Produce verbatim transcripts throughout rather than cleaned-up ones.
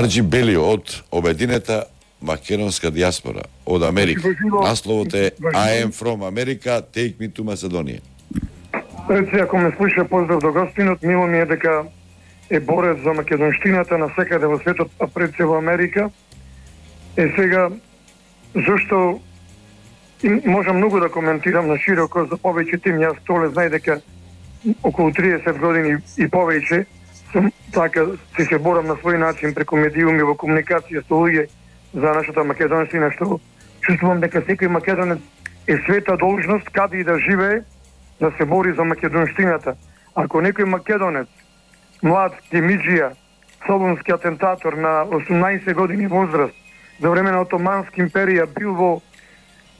Арџи Бели од Обединета македонска диаспора од Америка. Насловот е I am from America, take me to Macedonia. Реци, ако ме слуша, поздрав до гостинот, мило ми е дека е борец за македонштината на секаде во светот, а пред се во Америка. Е сега, зашто можам многу да коментирам на широко за повеќе тим, јас толе знај дека околу триесет години и повеќе сум така се се борам на свој начин преку медиуми во комуникација со луѓе за нашата македонштина, што чувствувам дека секој македонец е света должност каде и да живее да се бори за македонштината. Ако некој македонец, млад гемиџија, солунски атентатор на осумнаесет години возраст, за време на Отоманска империја бил во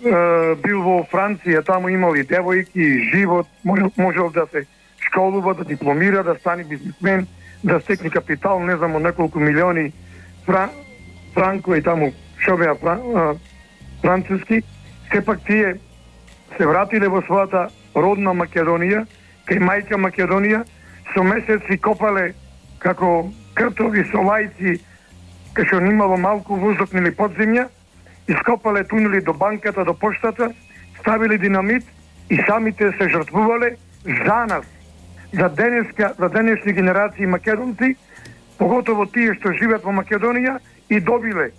е, бил во Франција, таму имали девојки, живот, можел, можел да се школува, да дипломира, да стане бизнисмен, да стекне капитал, не знам, неколку милиони фран, франко и таму шо беа фран, француски, сепак тие се вратиле во својата родна Македонија, кај мајка Македонија, со месеци копале како кртови со лајци, кај што немало малку воздух или подземја, ископале тунели до банката, до поштата, ставили динамит и самите се жртвувале за нас, за денеска, за денешни генерации македонци, поготово тие што живеат во Македонија и добиле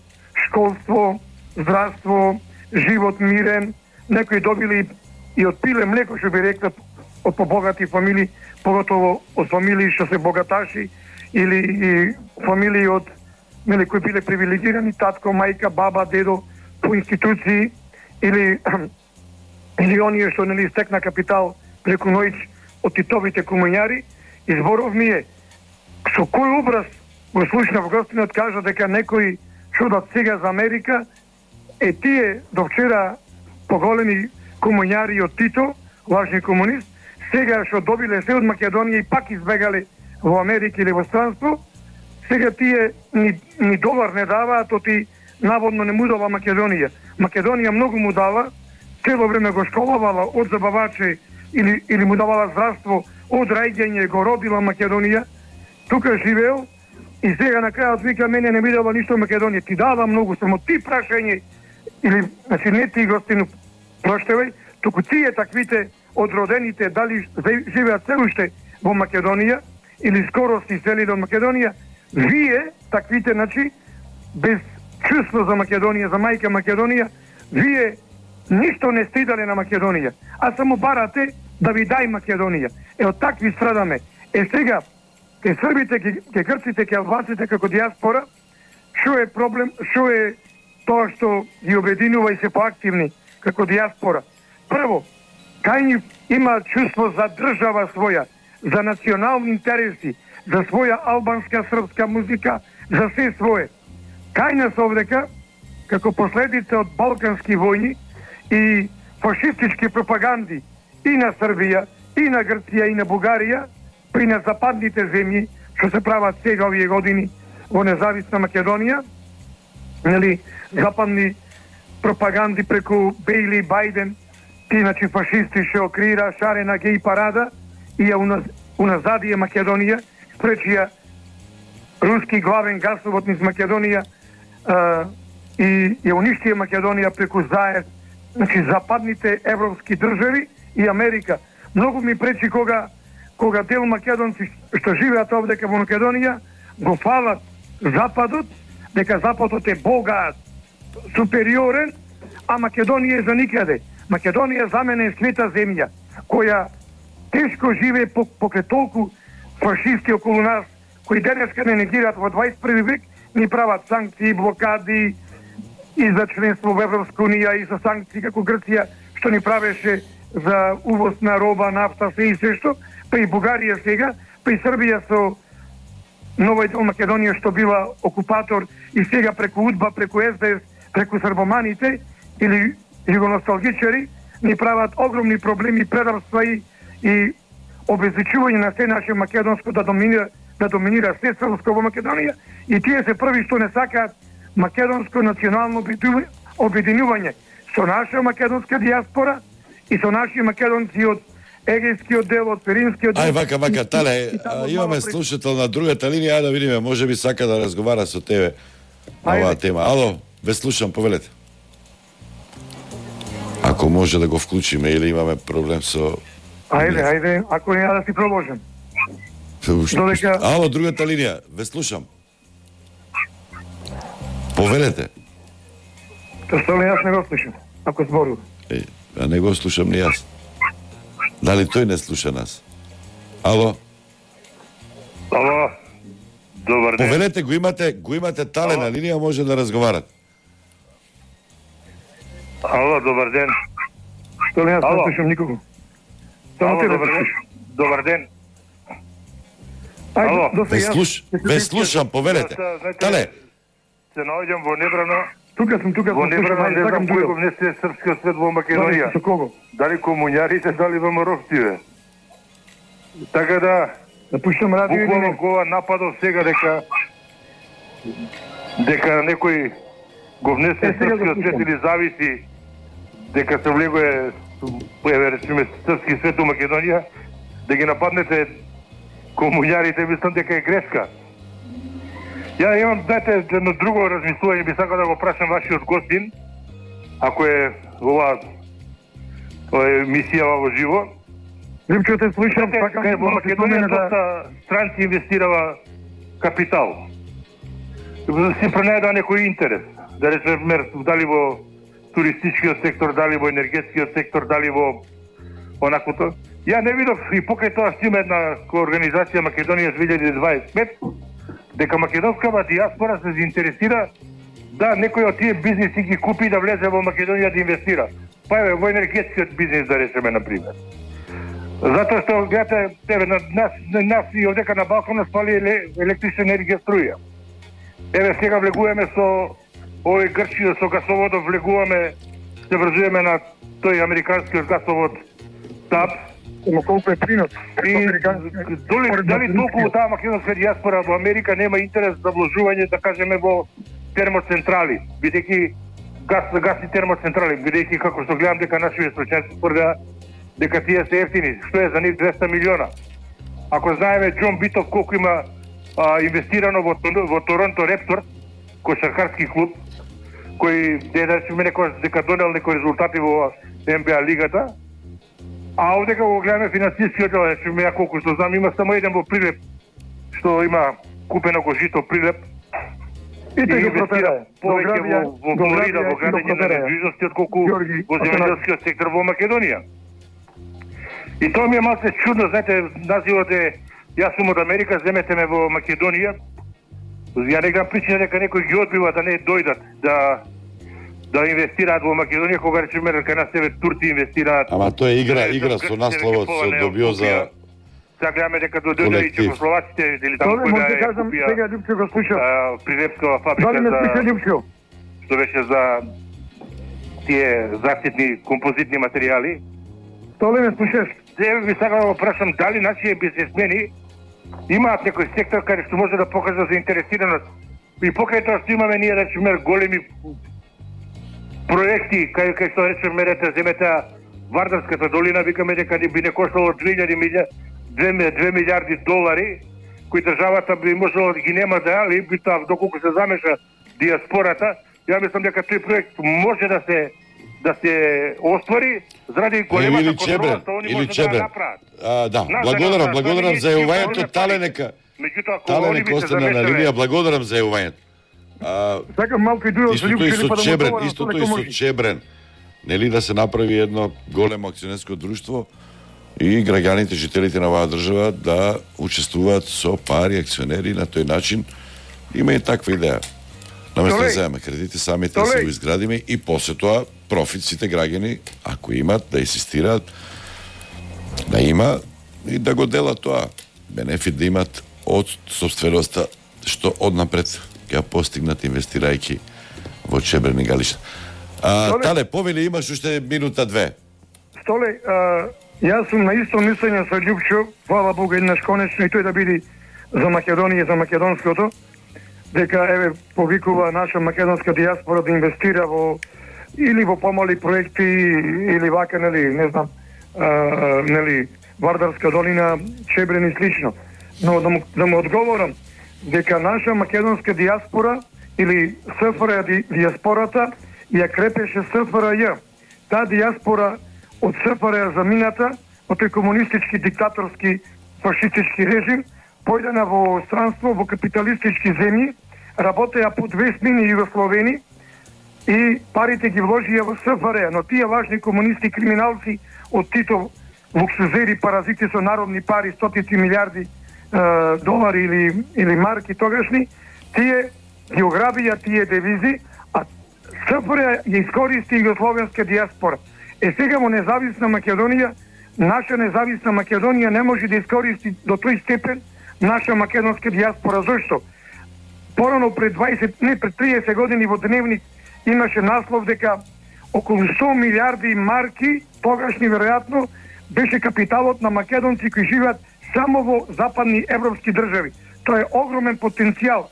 школство, здравство, живот мирен, некои добили и од пиле млеко, што би рекла, од побогати фамилии, поготово од фамилии што се богаташи или и фамилии од меле кои биле привилегирани, татко, мајка, баба, дедо по институции или или оние што нели стекна капитал преку ноќ од титовите комуњари. Изборов ми е со кој образ го слушнав гостинот кажа дека некои чудат сега за Америка, е тие до вчера поголеми комуњари од Тито, лажни комунист, сега што добиле се од Македонија и пак избегале во Америка или во странство, сега тие ни, ни долар не даваат, оти наводно не му дава Македонија. Македонија многу му дава, цело време го школувала од забаваче или, или му давала здравство, од раѓање го родила Македонија, тука живеел и сега на крајот вика мене не ми дава ништо Македонија. Ти дава многу, само ти прашање, или, значи не ти гостину проштевај, туку тие таквите одродените, дали живеат се уште во Македонија или скоро се иселиле од Македонија, вие, таквите, значи, без чувство за Македонија, за мајка Македонија, вие ништо не сте дали на Македонија, а само барате да ви дај Македонија. Е, од такви страдаме. Е, сега, ке србите, ке грците, ке албанците како диаспора, шо е проблем, шо е тоа што ги обединува и се поактивни како диаспора? Прво, кај ни има чувство за држава своја, за национални интереси, за своја албанска, српска музика, за се свое. Кај нас овдека, како последица од балкански војни и фашистички пропаганди и на Србија, и на Грција, и на Бугарија, при на западните земји, што се прават сега овие години во независна Македонија, нели, западни пропаганди преку Бејли и Бајден, ти, значи, фашисти што креира шарена геј парада и ја уназ, уназадија Македонија, спречија руски главен гасовод низ Македонија а, и ја уништија Македонија преку заед, значи, западните европски држави и Америка. Многу ми пречи кога кога дел македонци што живеат овдека во Македонија го фалат Западот, дека Западот е богат, супериорен, а Македонија е за никаде. Македонија за мене е света земја, која тешко живее покрај толку фашисти околу нас, кои денеска не негираат во дваесет и први век, ни прават санкции, блокади и за членство во Европска унија и за санкции како Грција, што ни правеше за увоз на роба, нафта, се и се што, па и Бугарија сега, па и Србија со Нова дел Македонија што била окупатор и сега преку УДБА, преку ес де ес, преку србоманите или југоносталгичари ни прават огромни проблеми, предавства и, и обезличување на се наше македонско да доминира, да доминира се српско во Македонија и тие се први што не сакаат македонско национално обединување со наша македонска диаспора и со наши македонци од Егејскиот дел, од Перинскиот дел. Ај вака, вака, Тале, имаме слушател на другата линија, ајде да видиме, може би сака да разговара со тебе на оваа тема. Ало, ве слушам, повелете. Ако може да го вклучиме или имаме проблем со... Ајде, ајде, ако не, да си продолжим. Додека... Ало, другата линија, ве слушам. Повелете. Столе, јас не го слушам, ако зборува. Е, а не го слушам ни јас. Дали тој не слуша нас? Ало? Ало, добар ден. Повелете, го имате, го имате Тале на линија, може да разговарат. Ало, добар ден. Столе, јас не слушам никого. Ало, добар ден. Добар ден. Ало, ве, слуш... ве слушам, повелете. Тале. Се наоѓам во Небрано. Тука сум, тука сум. Во Небрано не знам кој го внесе српскиот свет во Македонија. Со кого? Дали комуњарите, дали ВМРО-вците. Така да... Да пуштам радио или не? Буквално кога нападов сега дека... дека некој го внесе српскиот свет или зависи дека се влегое, еве речеме, српски свет во Македонија, да ги нападнете комуњарите, мислам дека е грешка. Ја имам, знаете, едно друго размислување, би сакал да го прашам вашиот гостин, ако е ова емисија во живо. Липчо, те слушам, сакам во Македонија доста странци инвестирава капитал. Се пронајдува некој интерес. Да речеме, дали во туристичкиот сектор, дали во енергетскиот сектор, дали во онаквото. Ја не видов и покрај тоа што има една организација Македонија две илјади дваесет и пет, дека македонскава диаспора се заинтересира да некој од тие бизниси ги купи да влезе во Македонија да инвестира. Па еве во енергетскиот бизнис да речеме на пример. Затоа што гледате, еве на нас, на нас и овдека на Балкан нас фали електрична енергија, струја. Еве сега влегуваме со овој Грчија, со гасоводот влегуваме, се врзуваме на тој американскиот гасовод ТАП. Ама колку е принос? И дали, дали толку таа македонска диаспора во Америка нема интерес за вложување, да кажеме, во термоцентрали, бидејќи газ, гасни термоцентрали, бидејќи како што гледам дека нашите стручњаци тврдеа дека тие се ефтини, што е за нив двеста милиона. Ако знаеме Џон Битов колку има а, инвестирано во, во Торонто Рептор, кошаркарски клуб, кој де да речеме некој дека донел некои резултати во Н Б А лигата, а овдека го гледаме финансискиот дел, речеме ја колку што знам, има само еден во Прилеп, што има купено го жито Прилеп, и тој го инвестира повеќе во, во Флорида, во градење на недвижности, отколку во земјоделскиот сектор во Македонија. И тоа ми е малце чудно, знаете, називот е, јас сум од Америка, земете ме во Македонија, ја не гледам причина дека некој ги одбива да не дојдат, да да инвестираат во Македонија, кога речеме дека на себе турци инвестираат. Ама тоа е игра, игра со насловот се добио за сега гледаме дека дојде и чехословаците или таму кој да е купија. Сега Љупчо го слуша. Прилепскава фабрика за што беше за тие заштитни композитни материјали. Тоа ли ме слушаш? Сега би сакал да го прашам дали нашите бизнесмени имаат некој сектор каде што може да покажа заинтересираност. И покрај тоа што имаме ние речеме големи проекти, кај кај што речеме рете земете Вардарската долина, викаме дека би не коштало две милијарди долари, кои државата би можела да ги нема да, али би тоа доколку се замеша диаспората, ја мислам дека тој проект може да се да се оствари заради големата контрола што они може да направат. А, да, благодарам, благодарам за јавувањето, Тале нека. Тале нека остане на линија, благодарам за јавувањето. Сакам малку и дуел со Љупчо, со Чебрен, истото и со Чебрен. Нели да се направи едно големо акционерско друштво и граѓаните, жителите на оваа држава да учествуваат со пари акционери на тој начин. Има и таква идеја. Наместо да земеме кредити, самите да се го изградиме и после тоа профит сите граѓани, ако имат, да инсистираат да има и да го делат тоа. Бенефит да имат од собственоста што однапред ќе постигнат инвестирајќи во Чебрен и Галишта. А, Тале, повели, имаш уште минута две. Столе, а, јас сум на исто мислење со Љупчо, фала Богу еднаш конечно и тој да биде за Македонија, за македонското, дека еве повикува наша македонска диаспора да инвестира во или во помали проекти или вака, нели, не знам, а, нели, Вардарска долина, Чебрен и слично. Но да му, да му одговорам дека наша македонска диаспора или СФР ди, диаспората ја крепеше СФРЈ. Таа диаспора од СФР ја замината од тој комунистички, диктаторски, фашистички режим, појдена во странство, во капиталистички земји, работеа по две смени Југословени и парите ги вложија во СФР, но тие лажни комунисти, криминалци од Титов, луксузери, паразити со народни пари, стотици милиарди е, долари или, или марки тогашни, тие ги ограбија тие девизи, а СФР ја искористи југословенска диаспора. Е сега во независна Македонија, наша независна Македонија не може да искористи до тој степен наша македонска диаспора. Зошто? Порано пред дваесет, не пред триесет години во Дневник имаше наслов дека околу сто милиарди марки, тогашни веројатно, беше капиталот на македонци кои живеат само во западни европски држави. Тоа е огромен потенцијал.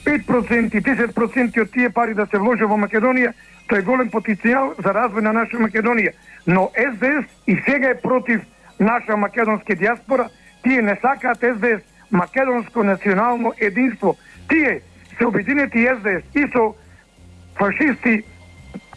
пет проценти, десет проценти од тие пари да се вложи во Македонија, тоа е голем потенцијал за развој на наша Македонија. Но ес де ес и сега е против наша македонска диаспора. Тие не сакаат ес де ес македонско национално единство. Тие се обединети ес де ес и со фашисти,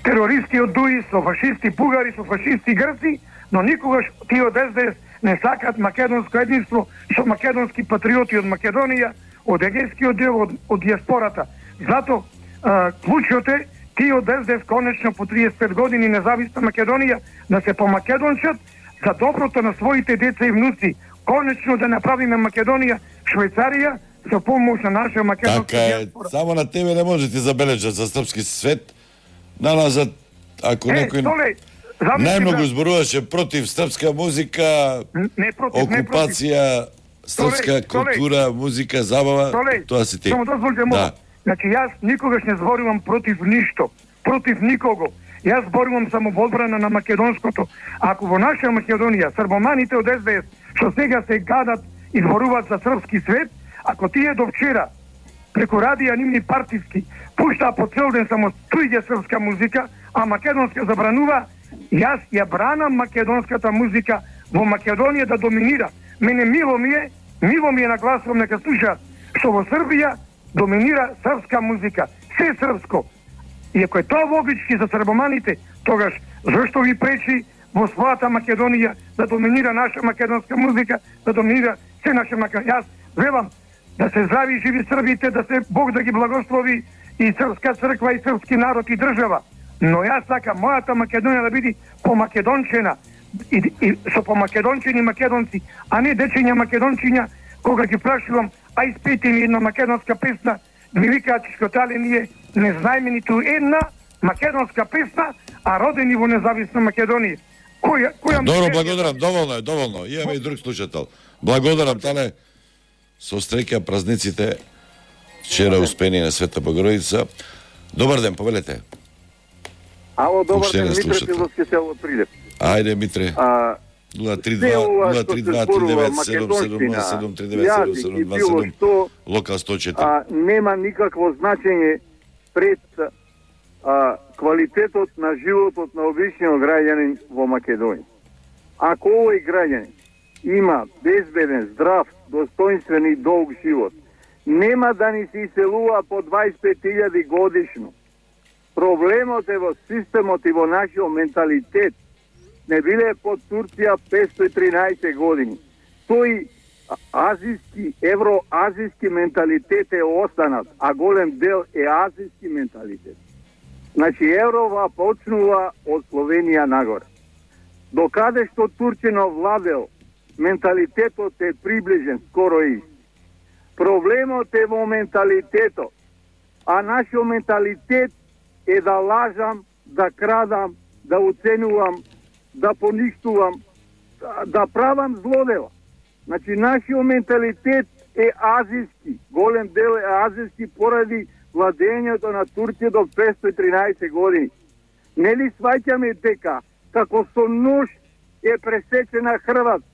терористи од ДУИ, со фашисти бугари, со фашисти грци, но никогаш тие од ес де ес не сакаат македонско единство со македонски патриоти од Македонија, од егејскиот дел, од, од диаспората. Зато а, клучот е тие од ес де ес конечно по триесет и пет години независна Македонија да се помакедончат за доброто на своите деца и внуци. Конечно да направиме Македонија Швајцарија со помош на наша македонска така е, диаспора. само на тебе не може ти забележат за српски свет. Налазат, ако Е, некој Толе, замисли најмногу да- зборуваше против српска музика, Не против, не против. окупација, српска Толе, Толе. култура, музика, забава, Толе, тоа си ти. само дозволите му. Да. Значи јас никогаш не зборувам против ништо, против никого. Јас зборувам само во одбрана на македонското. Ако во наша Македонија србоманите од ес де ес што сега се гадат и зборуваат за српски свет, ако тие до вчера преку радија нивни партиски пуштаа по цел ден само туѓа српска музика, а македонска забранува, јас ја бранам македонската музика во Македонија да доминира. Мене мило ми е, мило ми е нагласувам нека слушаат, што во Србија доминира српска музика, се српско. И ако е тоа логички за србоманите, тогаш зашто ги пречи во својата Македонија да доминира наша македонска музика, да доминира се наша Македонија. Јас велам да се здрави и живи Србите, да се Бог да ги благослови и српска црква и српски народ и држава. Но јас сакам мојата Македонија да биде помакедончена и, и со помакедончени македонци, а не дечења македончиња кога ги прашувам, а испејте ми една македонска песна, ми викаат чискотале ние не знаеме ниту една македонска песна, а родени во независна Македонија. Која, која Добро, благодарам, доволно е, доволно. Имаме и друг слушател. Благодарам, Тале. Со среќа празниците вчера успени на Света Богородица. Добар ден, повелете. Ало, добар Уште ден, не Митре слушате. Пиловски село Прилеп. Ајде, Митре. А, нула три се два ова нула што три се два три зборува девет седум седум седум три девет седум јазик седум и два било седум, што, локал сто четири. а, нема никакво значење пред а, квалитетот на животот на обичниот граѓанин во Македонија. Ако овој граѓанин има безбеден, здрав, достоинствен и долг живот, нема да ни се иселува по дваесет и пет илјади годишно. Проблемот е во системот и во нашиот менталитет. Не биле под Турција петстотини и тринаесет години. Тој азиски, евроазиски менталитет е останат, а голем дел е азиски менталитет. Значи, Еврова почнува од Словенија нагоре. Докаде што Турчино владел, менталитетот е приближен, скоро ист. Проблемот е во менталитетот, а нашиот менталитет е да лажам, да крадам, да уценувам, да поништувам, да, да правам злодела. Значи, нашиот менталитет е азиски, голем дел е азиски поради владењето на Турција до петстотини и тринаесет години. Нели сваќаме дека како со нож е пресечена Хрватска.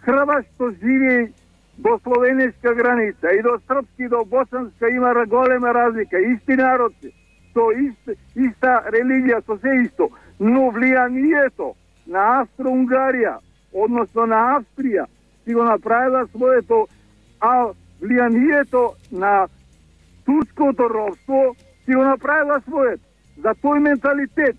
Хрват што живее до словенска граница и до српски и до босанска има голема разлика. Исти народ се, со ист, иста религија, со се исто. Но влијанието на Австро-Унгарија, односно на Австрија, си го направила своето, а влијанието на турското робство си го направила своето. За тој менталитет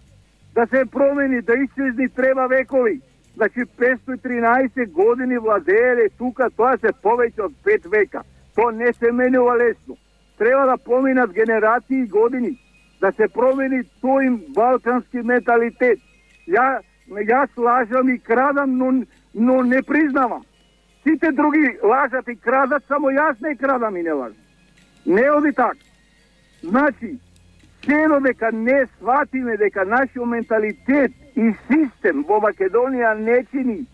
да се промени, да исчезни треба векови. Значи петстотини и тринаесет години владееле тука, тоа се повеќе од пет века. Тоа не се менува лесно. Треба да поминат генерации и години, да се промени тој балкански менталитет. Ја, јас лажам и крадам, но, но не признавам. Сите други лажат и крадат, само јас не крадам и не лажам. Не оди така. Значи, се додека не сватиме дека нашиот менталитет и систем во Македонија не чини,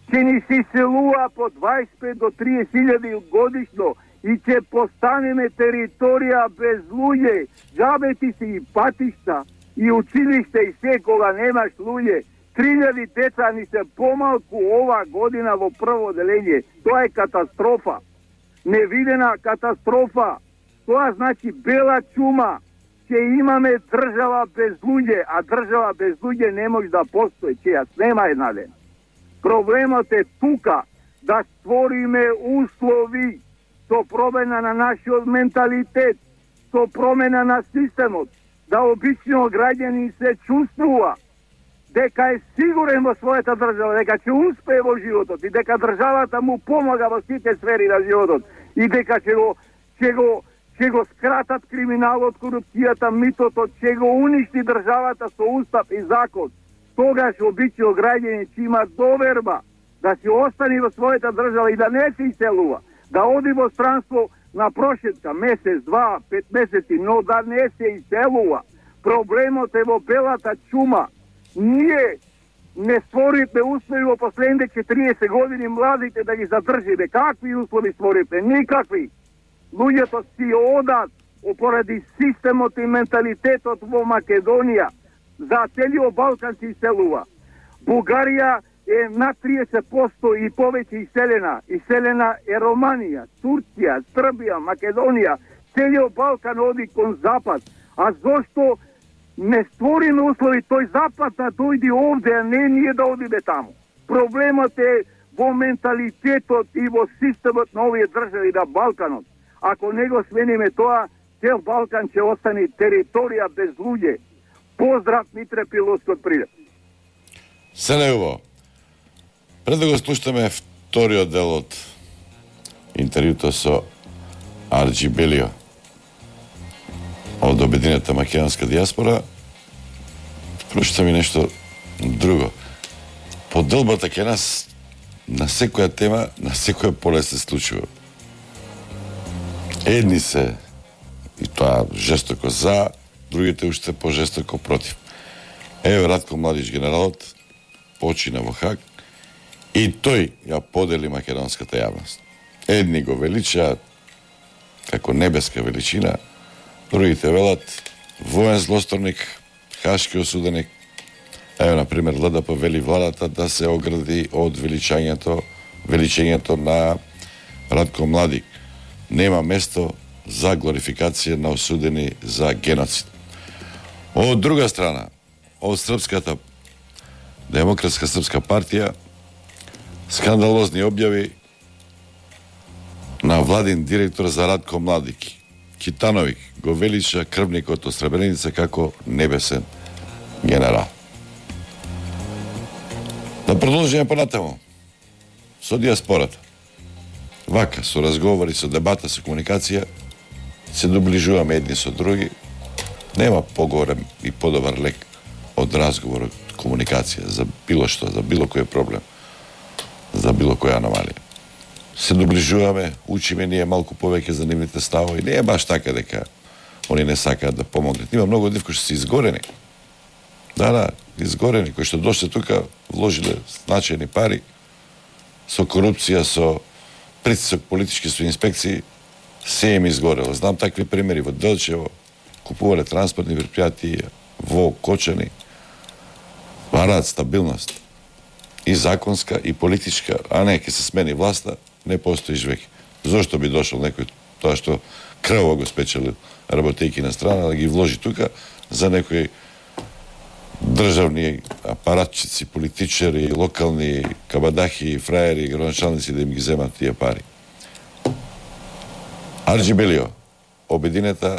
ќе ни се иселува по дваесет и пет до триесет илјади годишно и ќе постанеме територија без луѓе, џабе си и патишта, и училиште и се кога немаш луѓе. три илјади деца ни се помалку ова година во прво делење. Тоа е катастрофа. Невидена катастрофа. Тоа значи бела чума. Ќе имаме држава без луѓе, а држава без луѓе не може да постои, че јас нема една ден. Проблемот е тука да створиме услови со промена на нашиот менталитет, со промена на системот, да обичниот граѓанин се чувствува дека е сигурен во својата држава, дека ќе успее во животот и дека државата му помага во сите сфери на животот и дека ќе го ќе го ќе го скратат криминалот, корупцијата, митото, ќе го уништи државата со устав и закон. Тогаш обичниот граѓанин ќе има доверба да си остане во својата држава и да не се иселува, да оди во странство на прошетка, месец, два, пет месеци, но да не се иселува. Проблемот е во белата чума. Ние не створивме услови во последните четириесет години младите да ги задржиме. Какви услови створивме? Никакви. Луѓето си одат поради системот и менталитетот во Македонија. За целиот Балкан се иселува. Бугарија е над триесет проценти и повеќе иселена. Иселена е Романија, Турција, Србија, Македонија. Целиот Балкан оди кон запад. А зошто не створиме услови тој запад да дојде овде, а не ние да одиме таму? Проблемот е во менталитетот и во системот на овие држави на Балканот. Ако не го смениме тоа, цел Балкан ќе остане територија без луѓе. Поздрав, Митре Пиловски од Прилеп. Се неубаво. Пред да го слушаме вториот дел од интервјуто со Арџи Белио од Обединета македонска дијаспора, прочитам и нешто друго. Поделбата ке нас на секоја тема, на секоја поле се случува. Едни се, и тоа жестоко за, другите уште пожестоко против. Еве Ратко Младич, генералот, почина во Хаг и тој ја подели македонската јавност. Едни го величаат како небеска величина, другите велат воен злосторник, хашки осуденик. Еве, например, ЛДП вели владата да се огради од величањето, величењето на Ратко Младик. Нема место за глорификација на осудени за геноцид. Од друга страна, од Српската Демократска Српска партија, скандалозни објави на владин директор за Ратко Младик. Китановик го велича крвникот од Сребреница како небесен генерал. Да продолжиме понатаму со диаспората. Вака, со разговори, со дебата, со комуникација, се доближуваме едни со други. Нема поголем и подобар лек од разговор, од комуникација, за било што, за било кој проблем, за било која аномалија. Се доближуваме, учиме ние малку повеќе за нивните ставови. Не е баш така дека они не сакаат да помогнат. Има многу од нив кои што се изгорени. Да, да, изгорени, кои што дошле тука, вложиле значајни пари, со корупција, со притисок политички, со инспекции, се им изгорело. Знам такви примери во Делчево, купувале транспортни предпријатија, во Кочани, бараат стабилност. И законска, и политичка, а не, ке се смени власта, не постоиш веќе. Зошто би дошол некој тоа што крво го спечелил работејки на страна, да ги вложи тука за некој државни апаратчици, политичари, локални кабадахи, фраери, градоначалници да им ги земат тие пари. Арџи Белио, обединета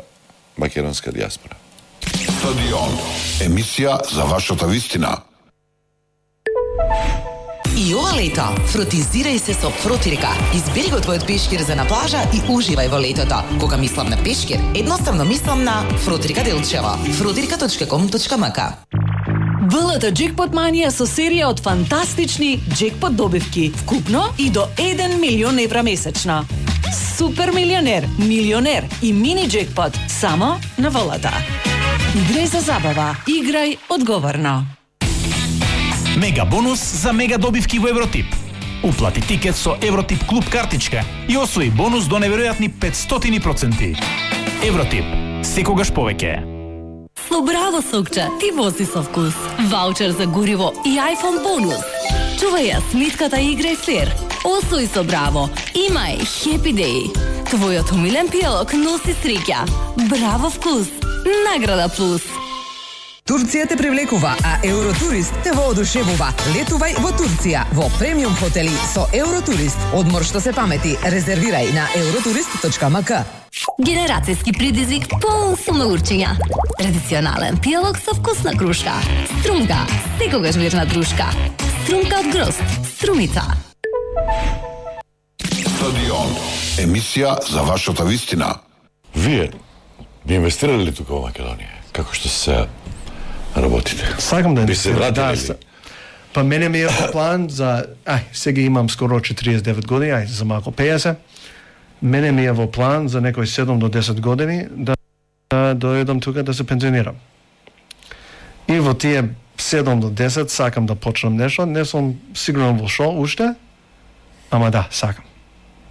македонска диаспора. Стадион, емисија за вашата вистина. И ова лето фротизирај се со Фротирика. Избери го твојот пешкир за на плажа и уживај во летото. Кога мислам на пешкир, едноставно мислам на Фротирика Делчево. фротирика точка ком точка ем ка. ВЛТ Джекпот Манија со серија од фантастични джекпот добивки, вкупно и до еден милион евра месечно. Супер милионер, милионер и мини джекпот само на ВЛТ. Играј за забава, играј одговорно. Мега бонус за мега добивки во Евротип. Уплати тикет со Евротип клуб картичка и освои бонус до неверојатни петстотини проценти. Евротип, секогаш повеќе. Со Браво сокче ти вози со вкус. Ваучер за гориво и iPhone бонус. Чувај ја смитката и играј флер. Освои со Браво. Имај Happy Day. Твојот умилен пијалок носи среќа. Браво вкус. Награда плюс. Турција те привлекува, а Евротурист те воодушевува. Летувај во Турција во премиум хотели со Евротурист. Одмор што се памети. Резервирај на евротурист точка ем ка. Генерацијски предизвик полн со научења. Традиционален пијалок со вкусна крушка. Струмка, секогаш верна дружка. Струмка од грозд, струмица. Стадион, емисија за вашата вистина. Вие би инвестирали ли тука во Македонија? Како што се работите? Сакам да инвестирам. Да, па мене ми е план за... Ај, сега имам скоро четириесет и девет години, ај, за малку пеесет. Мене ми е во план за некои седум до десет години да, да дојдам тука да се пензионирам. И во тие седум до десет сакам да почнам нешто, не сум сигурен во шо уште, ама да, сакам.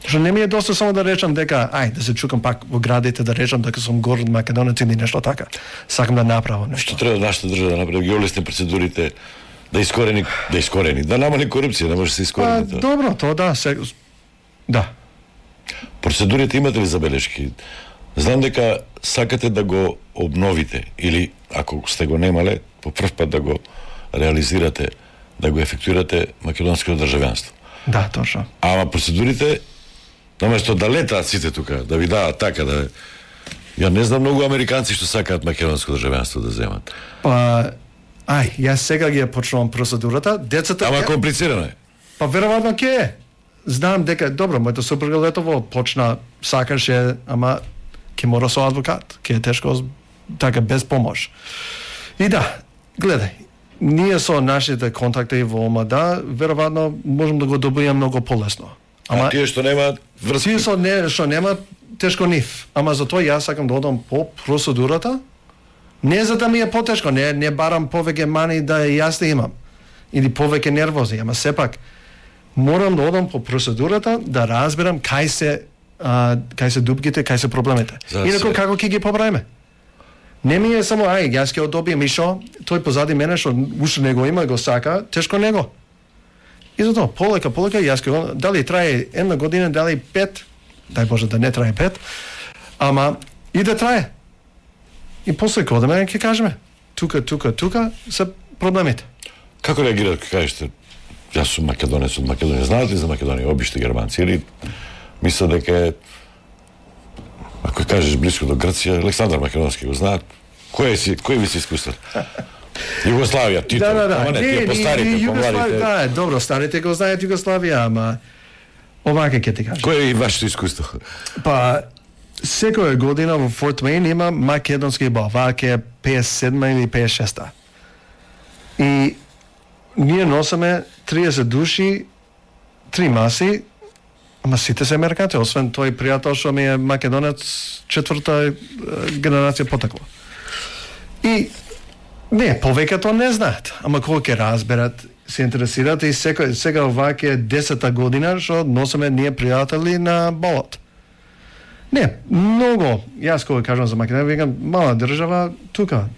Што не ми е доста само да речам дека, ај, да се чукам пак во градите, да речам дека сум горд македонец или нешто така. Сакам да направам нешто. Што треба нашата држава да направи? Ги олесни процедурите, да искорени, да искорени, да намали корупција, не може да се искорени тоа. Добро, тоа да, се... да. Процедурите имате ли забелешки? Знам дека сакате да го обновите или ако сте го немале, по прв пат да го реализирате, да го ефектуирате македонското државјанство. Да, точно. Ама процедурите наместо да летаат сите тука, да ви дават така да... Ја не знам многу американци што сакаат македонско државјанство да земат. Па, ај, јас сега ги ја почнувам процедурата, децата... Ама комплицирано е. Па веројатно ќе е. Знам дека, добро, мојата супруга летово почна, сакаше, ама ќе мора со адвокат, ќе е тешко така без помош. И да, гледај, ние со нашите контакти во ОМАДА, веројатно можем да го добијаме многу полесно. Ама а тие што немаат врски? Тие што не, што немаат, тешко нив. Ама затоа јас сакам да одам по процедурата, не за да ми е потешко, не, не барам повеќе мани да јас да имам, или повеќе нервози, ама сепак, морам да одам по процедурата, да разберам кај се, а, кај се дупките, кај се проблемите. Инаку како ќе ги поправиме? Не ми е само, ај, јас ќе одобијам и шо, тој позади мене што уште не го има, го сака, тешко него. И затоа, полека, полека, јас ќе, дали трае една година, дали пет, дај Боже да не трае пет, ама и да трае. И после кога да мене ќе кажеме, тука, тука, тука се проблемите. Како реагират кога кажете, јас сум македонец од Македонија, знаат ли за Македонија, обичте германци, или мислат дека е, ако кажеш близко до Грција, Александар Македонски го знаат, кој си, кој ви се искустват? Југославија, Тито, да, да, да. ама не, тие по старите, по младите. Да, добро, старите го знаат Југославија, ама овака ќе ти кажам. Кој е вашето искуство? Па, секоја година во Форт Уейн има македонски бал, вака е пеесет и седма или пеесет и шеста. И ние носиме триесет души, три маси, ама сите се американци, освен тој пријател што ми е македонец, четврта генерација потекло. И не, повеќето не знаат, ама кога ќе разберат, се интересираат и секој, сега овака е десета година што носиме ние пријатели на балот. Не, многу, јас кога кажам за Македонија, викам, мала држава, тука,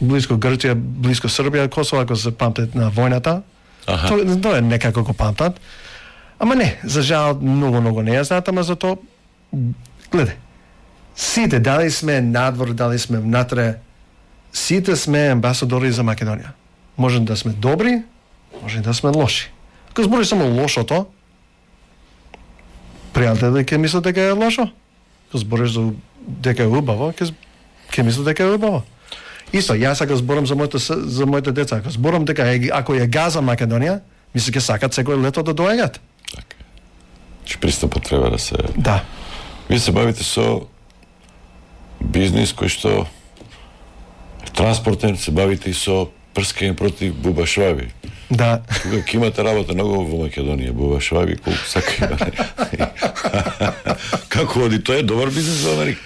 близко Грција, близко Србија, Косово, ако се памтат на војната, тоа то е некако го памтат. Ама не, за жал, многу, многу не ја знаат, ама за тоа, гледај, сите, дали сме надвор, дали сме внатре, сите сме амбасадори за Македонија. Може да сме добри, може да сме лоши. Ако збори само лошото, пријател дека мисли дека е лошо. Ако збориш за дека е убаво, ќе ќе мисли дека е убаво. Исто, јас ако зборам за моите за моите деца, ако зборам дека е, ако ја газа Македонија, мисли ќе сакат секој лето да доаѓаат. Така. Че пристапот треба да се... Да. Вие се бавите со бизнис кој што транспортен, се бавите и со прскање против бубашваби. Да. Кога ќе имате работа многу во Македонија, бубашваби, колку сака има. Како оди? Тоа е добар бизнис во Америка.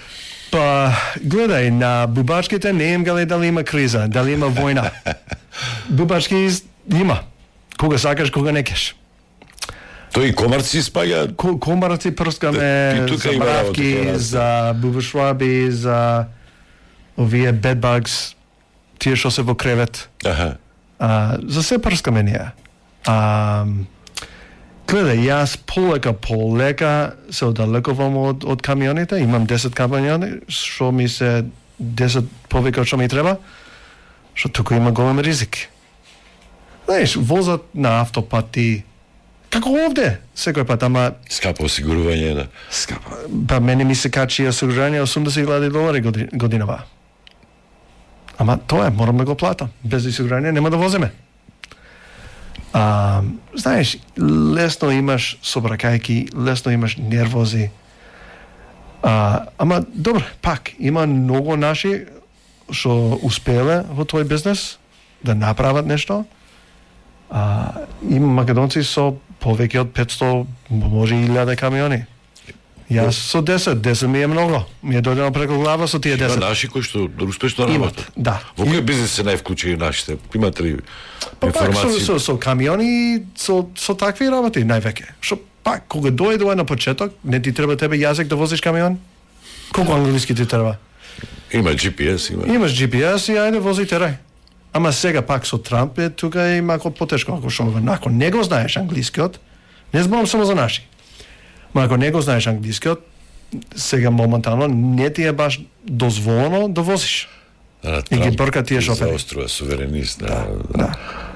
Па, гледај, на бубачките не им гале дали има криза, дали има војна. Бубачки има. Кога сакаш, кога не кеш. Тој и комарци спаѓа? Ко, комарци прскаме за мравки, за бубашваби, за овие bedbugs, тие што се во кревет. Аха. А, за се прскаме ние. А, гледај, јас полека полека се одалекувам од, од камионите, имам десет камиони, што ми се десет повеќе од што ми треба, што туку има голем ризик. Знаеш, возат на автопати, како овде, секој пат, ама... Скапо осигурување, да. Скапо. Па мене ми се качи осигурување осумдесет илјади долари годи, годинава. Ама тоа е, морам да го платам. Без осигурување нема да возиме. А, знаеш, лесно имаш собракајки, лесно имаш нервози. А, ама, добро, пак, има многу наши што успеле во тој бизнес да направат нешто. А, има македонци со повеќе од петсто, може и илјада камиони. Јас со десет, десет ми е многу. Ми е дојдено преку глава со тие десет. Има наши кои што успешно работат. Да. Во кој бизнес се највклучени нашите? Имате ли информации? Пак со, со, со камиони, со, со такви работи највеќе. Што пак, кога дојде на почеток, не ти треба тебе јазик да возиш камион? Колку англиски ти треба? Има Джи Пи Ес, има. Имаш Джи Пи Ес и ајде вози терај. Ама сега пак со Трамп е тука е малку потешко, ако што ако не го знаеш англискиот, не зборам само за наши. Ма ако не го знаеш англискиот, сега моментално не ти е баш дозволено да возиш. Да, и ги брка тие шофери. Заострува суверенист. Да, да. да.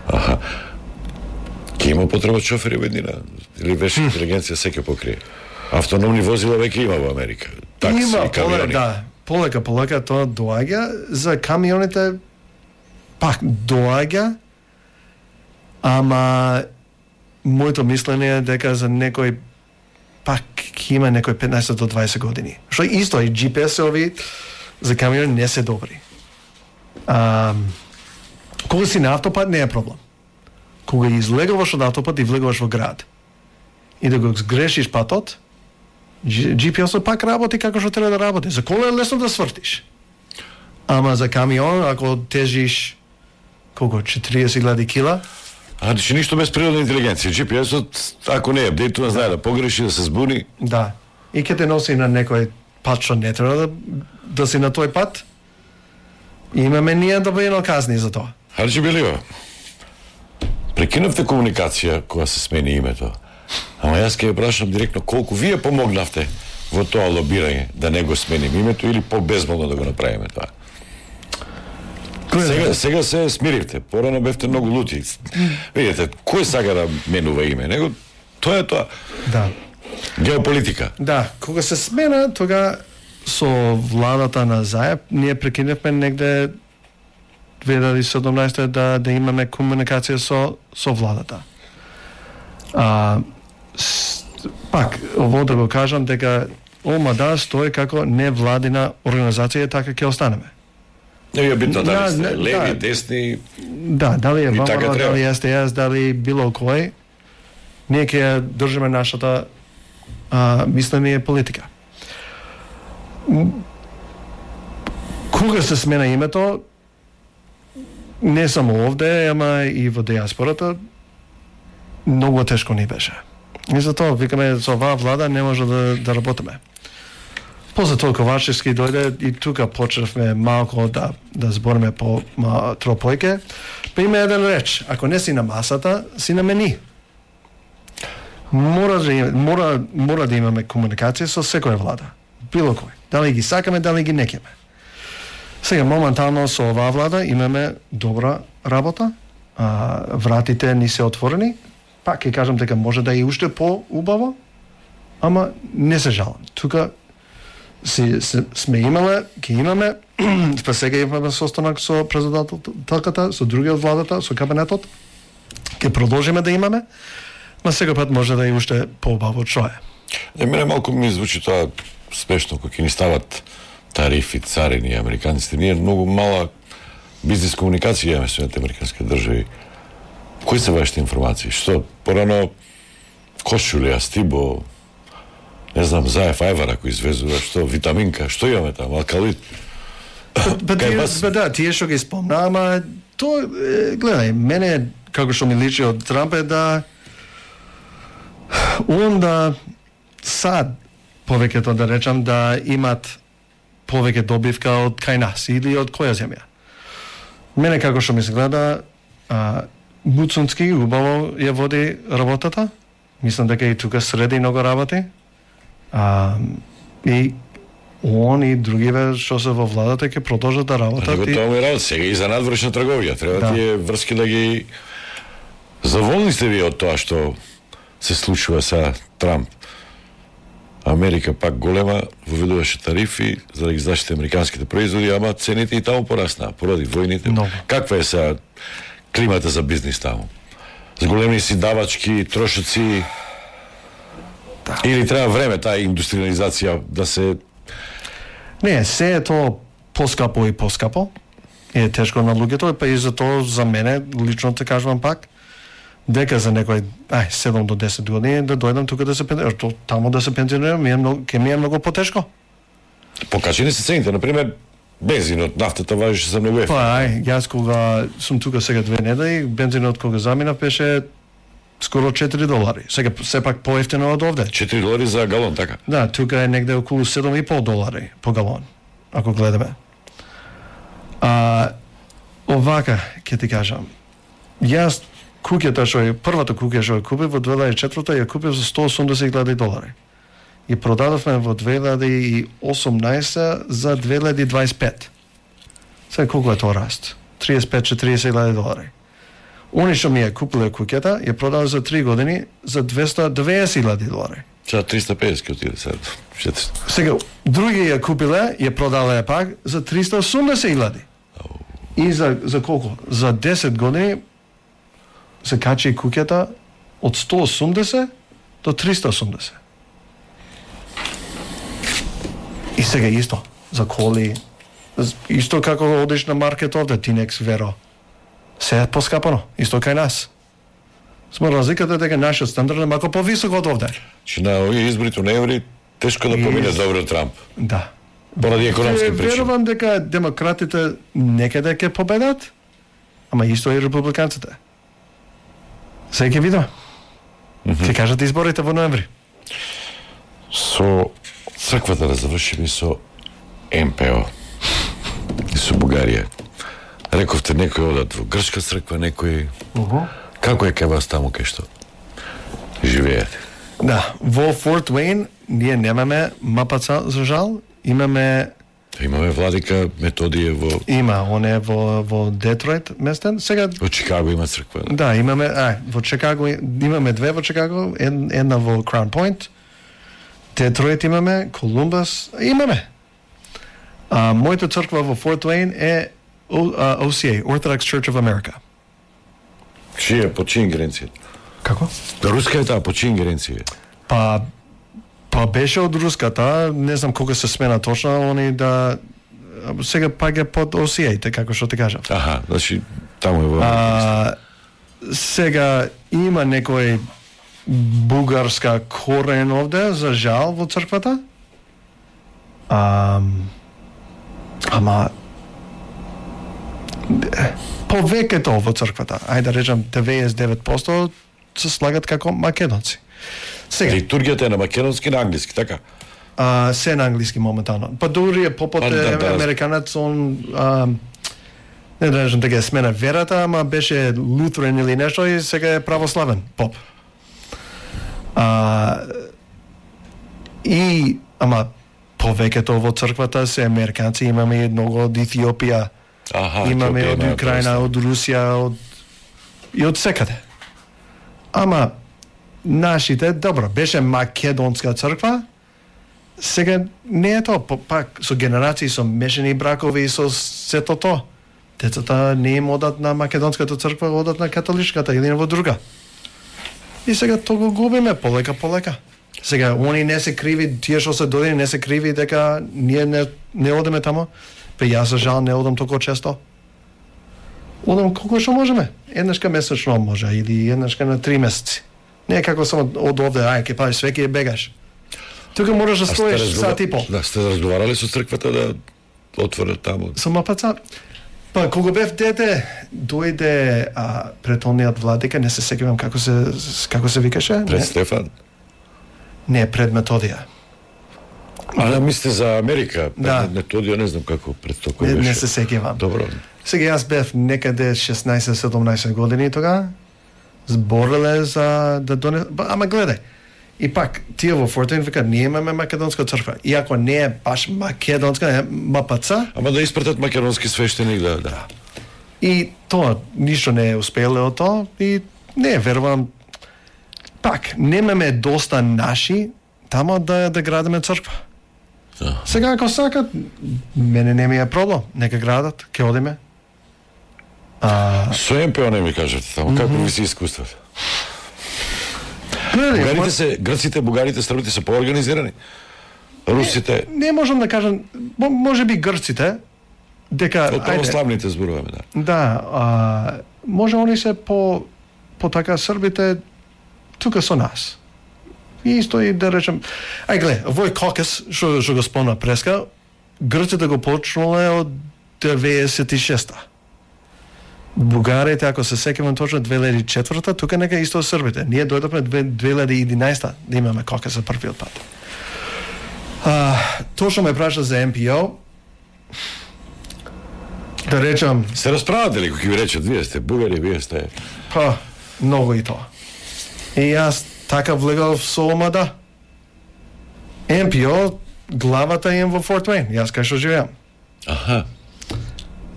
Аха. Ке има потреба од шофери во еднина? Или веќе интелигенција секој покрие? Автономни возила веќе има во Америка. Такси има, и камиони. Полека, да, полека, полека тоа доаѓа. За камионите пак доаѓа, ама моето мислење е дека за некој пак има некој петнаесет до дваесет години. Што исто и Джи Пи Ес-ови за камиони не се добри. А, кога си на автопат не е проблем. Кога излегуваш од автопат и влегуваш во град и да го сгрешиш патот, Джи Пи Ес-от пак работи како што треба да работи. За кола е лесно да свртиш. Ама за камион, ако тежиш колку четириесет илјади кила, А, значи ништо без природна интелигенција. Джи Пи Ес-от, ако не е апдейтува, знае да погреши, да се збуни. Да. И ќе те носи на некој пат што не треба да, да си на тој пат. И имаме ние добиено казни за тоа. Хаджи Белио, прекинавте комуникација кога се смени името. Ама јас ќе ја прашам директно колку вие помогнавте во тоа лобирање да не го сменим името или по-безболно да го направиме тоа. Сега, сега се смиривте, порано бевте многу лути. Видите, кој сака да менува име? Него, тоа е тоа. Да. Геополитика. Да, кога се смена, тога со владата на Зајеб, ние прекинавме негде две илјади и седумнаесета да, да имаме комуникација со, со владата. А, с, пак, ово да го кажам дека Олма да стои како невладина организација, така ќе останеме. Не е битно дали сте да, леви, да, десни. Да, дали е така ВМРО, дали е Ес Де Ес, дали било кој, ние ќе држиме нашата а, мислење и политика. Кога се смена името, не само овде, ама и во диаспората, многу тешко ни беше. И затоа викаме со оваа влада не може да, да работиме. После тоа Ковачевски дојде и тука почнавме малку да да збориме по ма, тропојке. Па има еден реч, ако не си на масата, си на мени. Мора да мора мора да имаме комуникација со секоја влада, било кој. Дали ги сакаме, дали ги некеме. Сега моментално со оваа влада имаме добра работа, а, вратите ни се отворени, пак ќе кажам дека може да е уште по-убаво, ама не се жалам. Тука си, си, сме имале, ќе имаме, па сега имаме состанок со председателката, со другиот владата, со кабинетот, ќе продолжиме да имаме, ма сега пат може да е уште по-убаво што е. Не, мене малку ми звучи тоа смешно, кога ќе ни стават тарифи, царини, американците. Ние многу мала бизнес комуникација имаме со американските држави. Кои се вашите информации? Што, порано кошулја, стибо, не знам, заев ајвар ако извезува, што, витаминка, што имаме таму, алкалит? Ба, тие, ба да, тие што ги спомна, ама то, е, гледај, мене, како што ми личи од Трамп е да он да сад, повеќето да речам, да имат повеќе добивка од кај нас или од која земја. Мене како што ми се гледа, а, Буцунски убаво ја води работата. Мислам дека и тука среди многу работи. А, и он и другиве што се во владата ќе продолжат да работат. Него тоа е работа сега и за надвршна трговија. Треба да. Тие врски да ги заволни сте ви од тоа што се случува са Трамп. Америка пак голема воведуваше тарифи за да ги заштити американските производи, ама цените и таму пораснаа поради војните. No. Каква е сега климата за бизнис таму? За големи си давачки, трошоци, да. Или треба време таа индустриализација да се... Не, се е тоа поскапо и поскапо. Е тешко на луѓето, па и за тоа за мене, лично те кажувам пак, дека за некој, ај, седум до десет години да дојдам тука да се пензионирам, таму да се пензионирам, ми е многу, ке ми е многу потешко. Покачени се цените, например, бензинот, нафтата важеше за многу ефтино. Па, ај, јас кога сум тука сега две недели, бензинот кога заминав беше скоро четири долари. Сега сепак поевтино од овде. четири долари за галон, така? Да, тука е негде околу седум и пол долари по галон, ако гледаме. А, овака, ќе ти кажам, јас куќата што е, првата куќа што ја купив во две илјади и четврта ја купив за сто и осумдесет илјади долари. И продадовме во две илјади и осумнаесет за две илјади и дваесет и пет. Сега колку е тоа раст? триесет и пет до четиресет илјади долари. Они што ми ја купиле куќата, ја продава за три години за двесто и деветдесет илјади долари. За триста и педесет ќе отиде сега. Сега, други ја купиле, ја продале пак за триста и осумдесет илјади. И за, за колку? За десет години се качи куќата од сто и осумдесет до триста и осумдесет. И сега исто, за коли, исто како одиш на маркет овде, Тинекс, Веро, се е поскапано, исто кај нас. Смо разликата дека нашиот стандард е малку повисок од овде. Че на овие изборите у ноември тешко да помине добро Трамп. Да. Поради економски причини. Верувам дека демократите некаде ќе победат, ама исто и републиканците. Сега ќе видиме. Mm -hmm. Ќе кажат изборите во ноември. Со црквата да завршиме со Ем Пе О и со Бугарија. Рековте некои одат во грчка црква, некои... Uh -huh. Како е кај вас таму кај што живеете? Да, во Форт Уейн ние немаме мапаца за жал, имаме Имаме владика Методије во... Има, он е во, во Детройт местен. Сега... Во Чикаго има црква. Да, да имаме, а, во Чикаго, имаме две во Чикаго, една во Краун Пойнт, Детройт имаме, Колумбас, имаме. А, мојата црква во Форт Уейн е О Си Ей, Orthodox Church of America. Чија, по чија ингеренција? Како? Руска е таа, по чија ингеренција? Па, па беше од руската, не знам кога се смена точно, они да сега пак е под О Си Ей, како што ти кажав. Аха, значи таму е во... А, сега има некој бугарска корен овде, за жал, во црквата. А, ама повеќето во црквата, ајде да речам деветдесет и девет проценти се слагат како македонци. Сега литургијата е на македонски и на англиски, така? А, се на англиски моментално. Па дури е попот е да, да, американец, он а, не да речем дека е смена верата, ама беше лутерен или нешто и сега е православен поп. А, и ама повеќето во црквата се американци, имаме многу од Етиопија, Аха, имаме Етиопија, од да, Украина, од Русија, од и од секаде. Ама нашите, добро, беше македонска црква, сега не е тоа, пак со генерации, со мешани бракови и со сето тоа. Децата не им одат на македонската црква, одат на католичката или во друга. И сега тоа го губиме полека полека. Сега они не се криви, тие што се додени не се криви дека ние не не одеме тамо. Пе јас за жал не одам толку често. Одам колку што можеме. Еднашка месечно може или еднашка на три месеци. Не е како само од овде, ај ке паеш свеќе бегаш. Тука можеш да стоиш сат и пол. Да, сте разговарале со црквата да отворат таму. Со мапаца. Па кога бев дете, дојде а, претолниот владика, не се сеќавам како се како се викаше? Пред не? Стефан. Не, пред Методија. А да мислите за Америка? Да. Пред Методија не знам како пред тоа кој Не, беше. не се сеќавам. Добро. Сега јас бев некаде шеснаесет-седумнаесет години тога. Збореле за да доне... Ама гледај, и пак, тие во Форт Уейн викаат, ние имаме македонска црква. Иако не е баш македонска, е МПЦ. Ама да испратат македонски свештеник, да, да. И тоа, ништо не е успеле од тоа. И не, верувам, пак, немаме доста наши тамо да, да градиме црква. Да. Сега, ако сакат, мене не ми е проблем. Нека градат, ке одиме. А... Со Ем Пе О не ми кажете тамо, како ви се искуствата? Бугарите се, грците, бугарите, србите се поорганизирани. Русите... Не, не можам да кажам, може би грците, дека... Од православните зборуваме, да. Да, а, може они се по, по така србите тука со нас. И исто и да речем... Ај глед, овој кокес, што, што го спомна преска, грците го почнале од деветдесет и шеста. Бугарите, ако се сеќавам точно две илјади и четврта, тука нека исто србите. Ние дојдовме две илјади и единаесета да имаме кокес за првиот пат. А, точно ме праша за Ем Пе О. Да речам... Се расправате ли, кој ви речат, вие сте бугари, вие сте... Па, многу и тоа. И јас така влегав со омада. Ем Пе О, главата им во Форт Уейн, јас кај што живеам. Аха.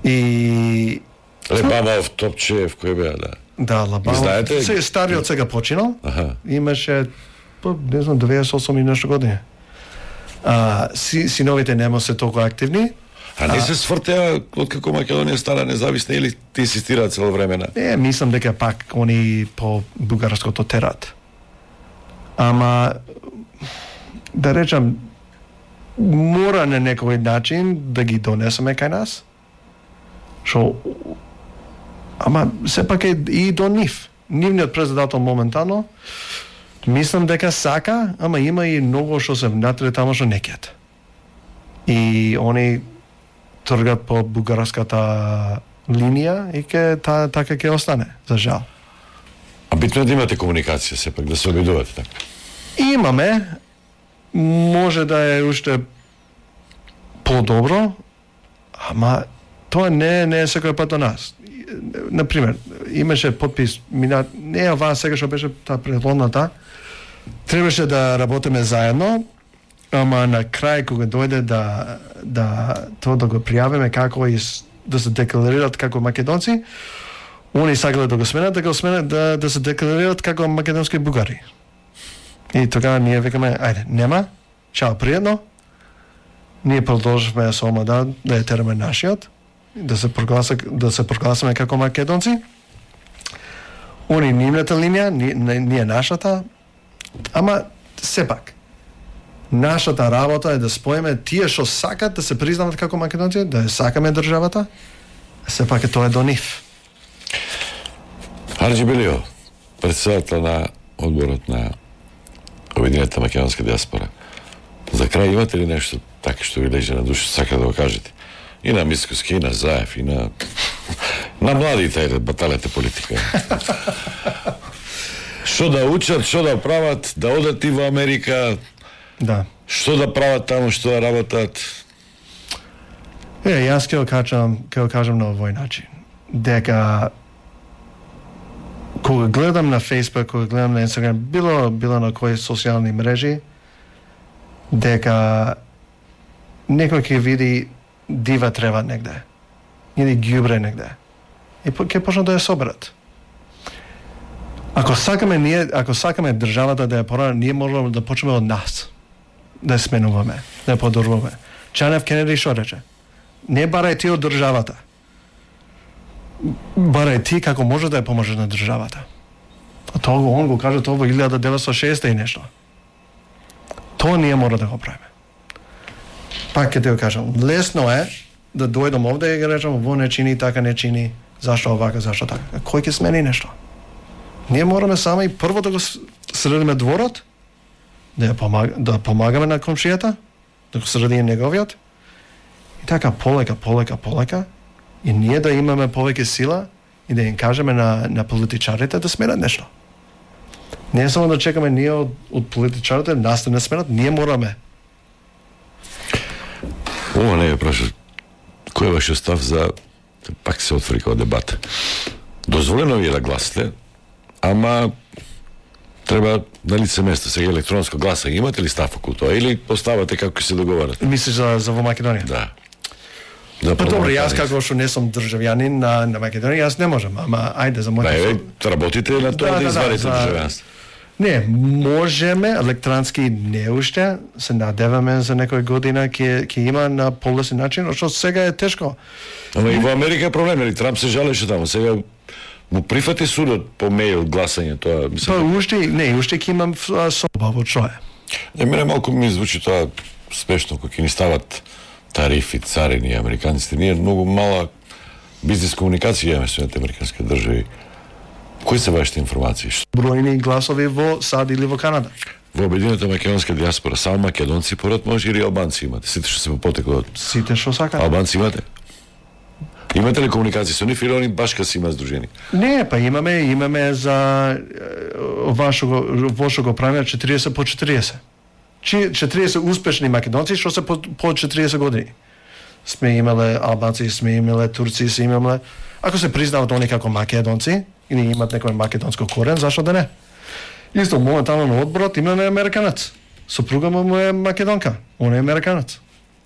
И... Лебамов, Топчев, кој беа, да. Да, Лабамов. Знаете? Се стариот сега починал. Аха. Имаше, па, не знам, деветдесет и осум и нешто години. А, си, синовите нема се толку активни. А не се свртеа откако Македонија стана независна или ти инсистираат цело време? Е, мислам дека пак они по бугарското терат. Ама да речам, мора на некој начин да ги донесеме кај нас. Шо ама сепак е и до нив. Нивниот председател моментално мислам дека сака, ама има и многу што се внатре тамо што не кет. И они тргат по бугарската линија и ке та, така ќе остане, за жал. А битно е да имате комуникација сепак, да се обидувате така. Имаме, може да е уште подобро, ама тоа не, не е секој пат до нас. Например, имаше подпис, мина, не е оваа сега што беше таа предходната, требаше да работиме заедно, ама на крај кога дојде да да тоа да го пријавиме како и да се декларират како македонци, они сакале да го сменат, да го сменат да да се декларират како македонски бугари. И тогава ние викаме, ајде, нема, чао, пријатно. Ние продолживме со омада да ја тераме нашиот, да се прогласа да се прогласиме како македонци. Они нивната линија, ние, ние нашата, ама сепак нашата работа е да споиме тие што сакат да се признават како македонци, да ја сакаме државата, сепак е тоа до нив. Арџи Белио, председател на одборот на Обединетата македонска диаспора. За крај имате ли нешто така што ви лежи на душа, сака да го кажете? И на Мицкоски, и на Заев, и на... на младите, ајде, баталете политика. Што да учат, што да прават, да одат и во Америка, да. Што да прават таму, што да работат? Е, јас ќе го кажам, ќе го кажам на овој начин. Дека кога гледам на Facebook, кога гледам на Instagram, било било на кои социјални мрежи, дека некој ќе види дива трева негде или ѓубре негде и ќе почнат да ја соберат. Ако сакаме ние, ако сакаме државата да ја порано, ние можеме да почнеме од нас, да ја сменуваме, да ја подобруваме. Џон Ф. Кенеди што рече? Не барај ти од државата. Барај ти како може да ја поможеш на државата. А тоа го он го кажа тоа во илјада деветстотини и шесте и нешто. Тоа ние мора да го правиме. Пак ќе ти го кажам, лесно е да дојдам овде и ги речам во не чини, така не чини, зашто овака, зашто така. Кој ќе смени нешто? Ние мораме само и прво да го средиме дворот, да ја помаг, да помагаме на комшијата, да го средиме неговиот, и така полека, полека, полека, и ние да имаме повеќе сила и да им кажеме на, на политичарите да сменат нешто. Не само да чекаме ние од, од политичарите, нас да не сменат, ние мораме. Ова не е праша. Кој е вашиот став за, пак се отвори као дебат. Дозволено ви е да гласите, ама треба на лице место, сега електронско гласање. Имате ли став околу тоа или поставате како се договарате? Мислиш за, за во Македонија? Да. Да, па добро, јас како што не сум државјанин на, на Македонија, јас не можам, ама ајде за мојот... Да, работите на тоа да, да извадите да, државјанство. Не, можеме, електронски не уште, се надеваме за некој година ќе ќе има на полесен начин, што сега е тешко. Ама и во Америка е проблем, нели Трамп се жалеше таму, сега му прифати судот по мејл гласање тоа, мислам. Па уште не, уште ќе имам соба во што е. Не, мене малку ми звучи тоа смешно кога ќе ни стават тарифи, царини, американците. Ние многу мала бизнес комуникација имаме со американски држави. Кои се вашите информации? Бројни гласови во САД или во Канада. Во обединета македонска диаспора само македонци поред може или албанци имате? Сите што се попотекло од... Сите што сакат. Албанци имате? Имате ли комуникација со нив или они баш кога си има здружени? Не, па имаме, имаме за вашо го, вашо го правиме четириесет по четириесет. четириесет успешни македонци што се по, по четириесет години. Сме имале албанци, сме имале турци, сме имале... Ако се признават они како македонци, или имат некој македонско корен, зашто да не? Исто, моментално на одборот имаме американец. Сопруга му е македонка, он е американец.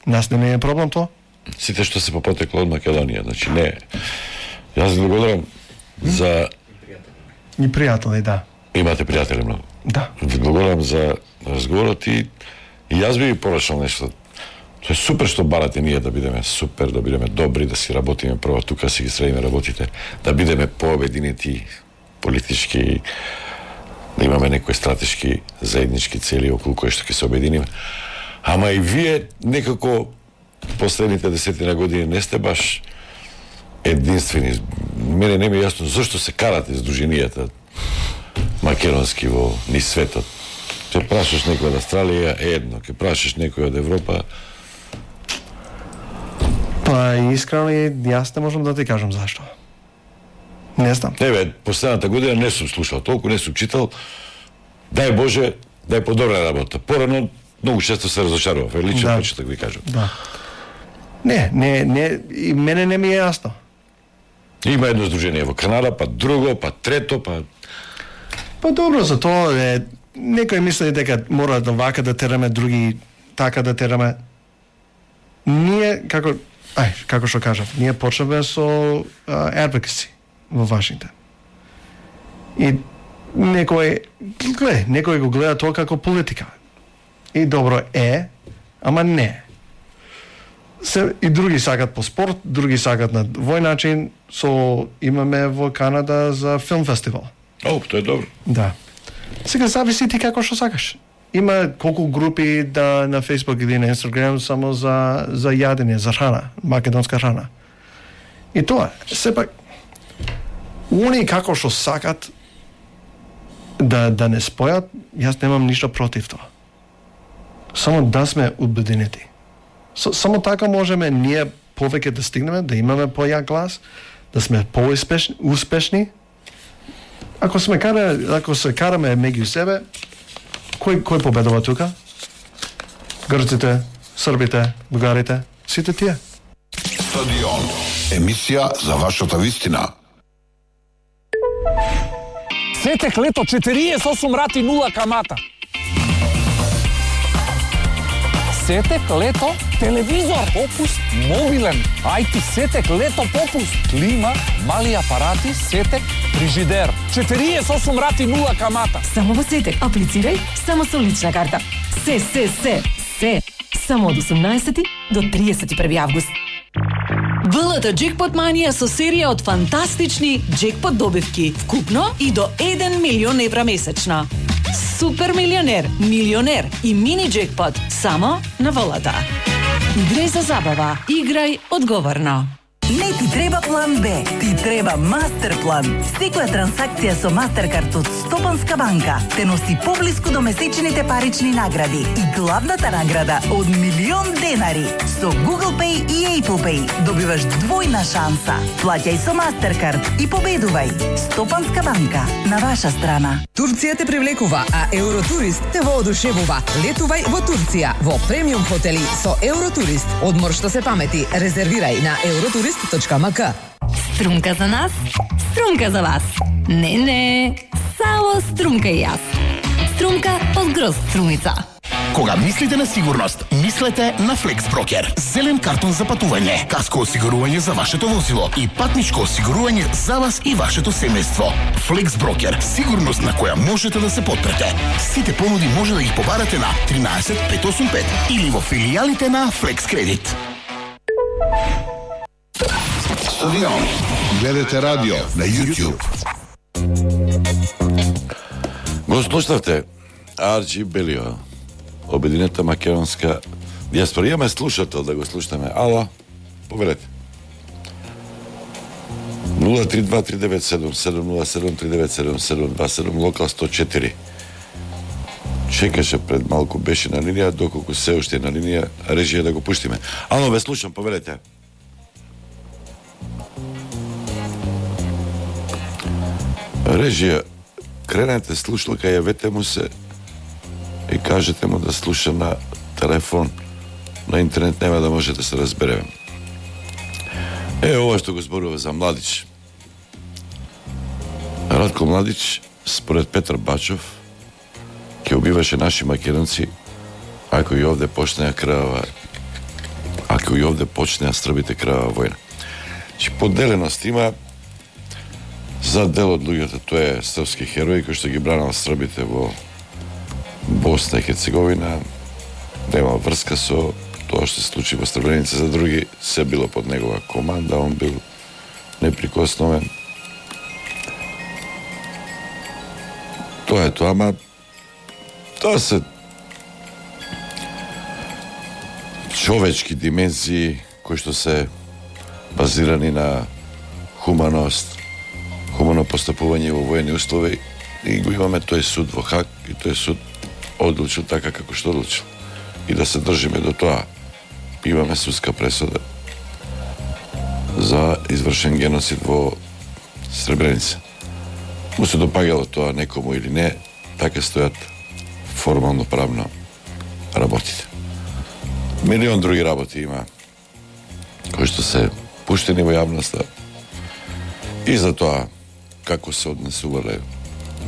Нас не е проблем тоа. Сите што се попотекло од Македонија, значи не. Јас ви благодарам за... И пријатели, да. Имате пријатели многу. Да. Ви благодарам за разговорот и, и јас би ви порачал нешто. Тоа е супер што барате ние да бидеме супер, да бидеме добри, да си работиме прво тука, си ги средиме работите, да бидеме пообединети политички, да имаме некои стратешки заеднички цели околу кои што ќе се обединиме. Ама и вие некако последните десетина години не сте баш единствени. Мене не ми е јасно зашто се карате здруженијата македонски во низ светот. Ќе прашаш некој од Австралија е едно, ќе прашаш некој од Европа. Па искрено јас не можам да ти кажам зашто. Не знам. Не бе, последната година не сум слушал толку, не сум читал. Дај Боже, да е подобра работа. Порано многу често се разочарував, е лично да. Почеток ви кажам. Да. Не, не, не, и мене не ми е јасно. Има едно здружение во Канада, па друго, па трето, па... Па добро, за тоа е... Некој мисли дека мора да вака да тераме, други така да тераме. Ние, како... Ај, како што кажав, ние почнеме со uh, advocacy во Вашингтон. И некој... Гле, некој го гледа тоа како политика. И добро е, ама не. Се, и други сакат по спорт, други сакат на вој начин, со имаме во Канада за филм фестивал. О, тоа е добро. Да. Сега зависи ти како што сакаш. Има колку групи да на Facebook или на Instagram само за за јадење, за храна, македонска храна. И тоа, сепак они како што сакат да да не спојат, јас немам ништо против тоа. Само да сме обединети. Само така можеме ние повеќе да стигнеме, да имаме појак глас, да сме поуспешни, успешни. Ако сме кара, ако се караме меѓу себе, кој кој победува тука? Грците, србите, бугарите, сите тие. Стадион. Емисија за вашата вистина. Сетек лето четириесет и осум рати нула камата. Сетек лето телевизор, попуст мобилен. Ајти Сетек лето попуст. Клима, мали апарати, Сетек фрижидер. четириесет и осум рати нула камата. Само во Сетек аплицирај само со лична карта. Се, се, се, се. Само од осумнаесети до триесет и први август. ВЛТ Джекпот Манија со серија од фантастични джекпот добивки, вкупно и до еден милион евра месечно. Супер милионер, милионер и мини джекпот само на ВЛТ. Играј за забава, играј одговорно. Не ти треба план Б, ти треба Мастерплан. Секоја транзакција со Мастеркард од Стопанска банка те носи поблиску до месечните парични награди и главната награда од милион денари. Со Google Pay и Apple Pay добиваш двојна шанса. Плаќај со Мастеркард и победувај. Стопанска банка, на ваша страна. Турција те привлекува, а Евротурист те воодушевува. Летувај во Турција во премиум хотели со Евротурист. Одмор што се памети, резервирај на евротурист точка ем ка. Струмка за нас, струмка за вас. Не, не, само струмка и јас. Струмка од Грозд струмица. Кога мислите на сигурност, мислете на FlexBroker. Зелен картон за патување, каско осигурување за вашето возило и патничко осигурување за вас и вашето семејство. FlexBroker, сигурност на која можете да се потпрете. Сите понуди може да ги побарате на тринаесет пет осум пет или во филијалите на Flex Credit. Стадион. Гледате радио на YouTube. Го слушавте Арчи Белио, Обединета македонска диаспора. Имаме слушател да го слушаме. Ало, повелете. нула три два три девет седум седум нула седум три девет седум седум два седум, локал сто четири. Чекаше пред малку, беше на линија, доколку се уште е на линија, режија да го пуштиме. Ало, ве слушам, повелете. Режија, кренете слушалка, јавете му се и кажете му да слуша на телефон, на интернет нема да може да се разбереме. Е, ова што го зборува за Младич. Радко Младич, според Петар Бачов, ќе убиваше наши македонци ако и овде почнеа крвава, ако и овде почнеа србите крвава војна. Че поделеност има. За дел од луѓето тој е српски херој кој што ги бранал србите во Босна и Херцеговина, нема врска со тоа што се случи во Сребреница. За други се било под негова команда, он бил неприкосновен. Тоа е тоа, ама тоа се човечки димензии кои што се базирани на хуманост, хумано постапување во воени услови, и го имаме тој суд во Хаг и тој суд одлучил така како што одлучил. И да се држиме до тоа. Имаме судска пресуда за извршен геноцид во Сребреница. Му се допагало тоа некому или не, така стојат формално правно работите. Милион други работи има кои што се пуштени во јавноста и за тоа како се однесувале,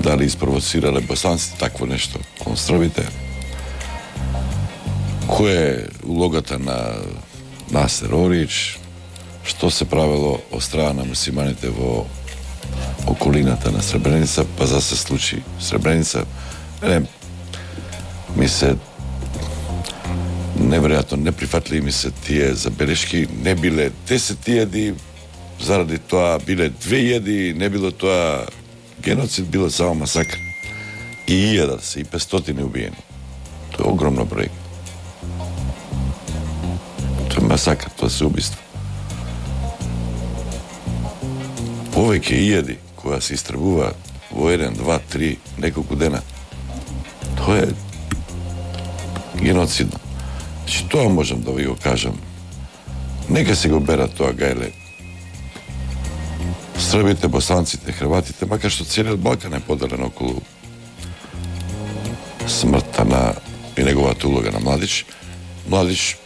дали испровоцирале босанците такво нешто кон србите, која е улогата на Насер Орич, што се правело од страна на мусиманите во околината на Сребреница, па за се случи Сребреница. Не, ми се неверојатно неприфатливи ми се тие забелешки. Не биле десет јади, заради тоа биле две јади, не било тоа геноцид, било само масакр. И илјада се, и петстотини убиени. Тоа е огромно број. Тоа е масакр, тоа се убиство. Повеќе илјади која се истребува во еден, два, три, неколку дена. Тоа е геноцидно. Значи, тоа можам да ви го кажам. Нека се го берат тоа гајле. Србите, босанците, хрватите, макар што целиот Балкан е поделен околу смртта на и неговата улога на Младич. Младич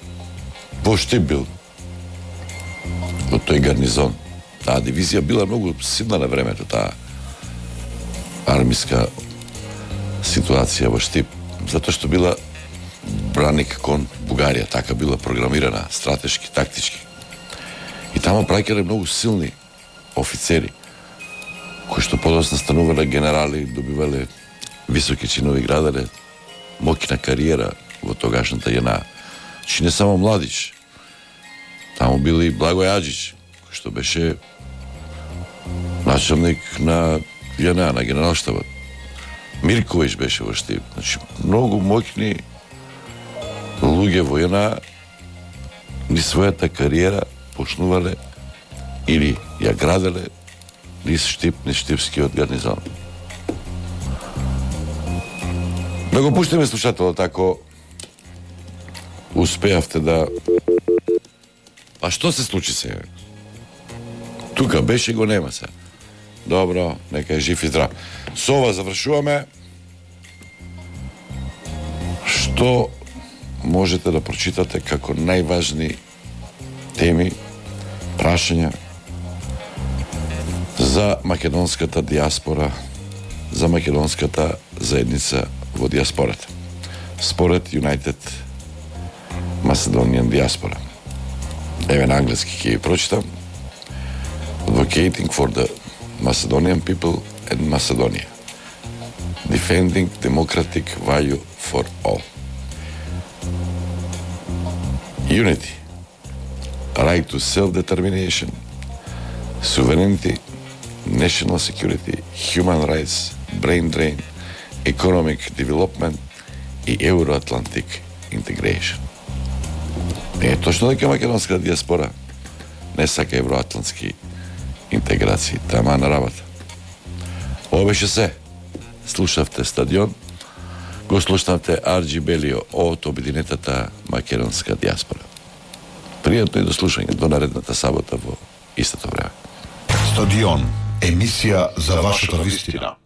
воште бил во тој гарнизон. Таа дивизија била многу силна на времето, таа армиска ситуација во Штип, затоа што била браник кон Бугарија, така била програмирана, стратешки, тактички. И таму праќале многу силни офицери, кои што подоцна станувале генерали, добивале високи чинови, градале моќна кариера во тогашната ЈНА. Чи не само Младич, таму бил и Благој Аџич, кој што беше началник на ЈНА, на генералштабот. Мирковиќ беше во Штип. Значи, многу моќни луѓе во ЈНА ни својата кариера почнувале или ја граделе низ Штип, низ Штипскиот гарнизон. Да го пуштиме слушателот, ако успеавте да... А што се случи сега? Тука беше, го нема се. Добро, нека е жив и здрав. Со ова завршуваме. Што можете да прочитате како најважни теми, прашања за македонската диаспора, за македонската заедница во диаспората, според United Macedonian Diaspora. Еве на англиски ќе ги прочитам. Advocating for the Macedonian people and Macedonia. Defending democratic value for all. Unity. Right to self-determination. Sovereignty. National security. Human rights. Brain drain. Economic development и Euro-Atlantic integration. Е точно дека македонската диаспора не сака евроатлантски интеграции, тама на работа. Ова беше се. Слушавте Стадион, го слушнавте Арџи Белио од обединетата македонска диаспора. Пријатно и до слушање до наредната сабота во истото време. Стадион, емисија за вашата вистина.